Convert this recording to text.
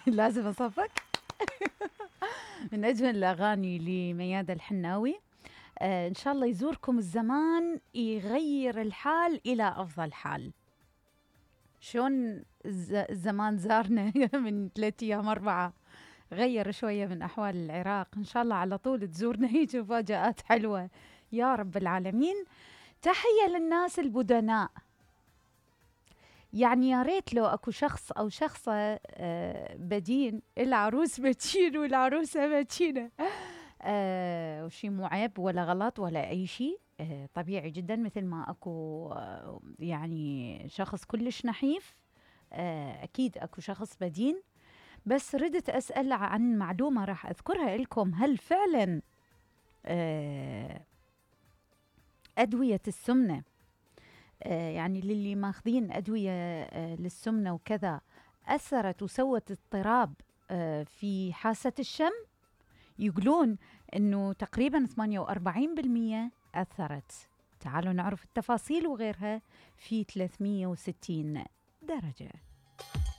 لازم أصفق. من أجمل الأغاني لميادة الحناوي. إن شاء الله يزوركم الزمان يغير الحال إلى أفضل حال. شلون الزمان زارنا من 3 أيام 4 غير شوية من أحوال العراق. إن شاء الله على طول تزورنا هيك مفاجآت حلوة يا رب العالمين. تحية للناس البدناء. يعني يا ريت لو اكو شخص او شخصة بدين، العروس بتشين والعروسة بتشينة، وشي مو عيب ولا غلط ولا اي شيء، طبيعي جدا. مثل ما اكو يعني شخص كلش نحيف، اكيد اكو شخص بدين. بس ردت اسأل عن معلومة راح اذكرها لكم. هل فعلا ادوية السمنة، يعني للي ماخذين أدوية للسمنة وكذا، أثرت وسوت اضطراب في حاسة الشم؟ يقولون أنه تقريبا 48% أثرت. تعالوا نعرف التفاصيل وغيرها في 360 درجة.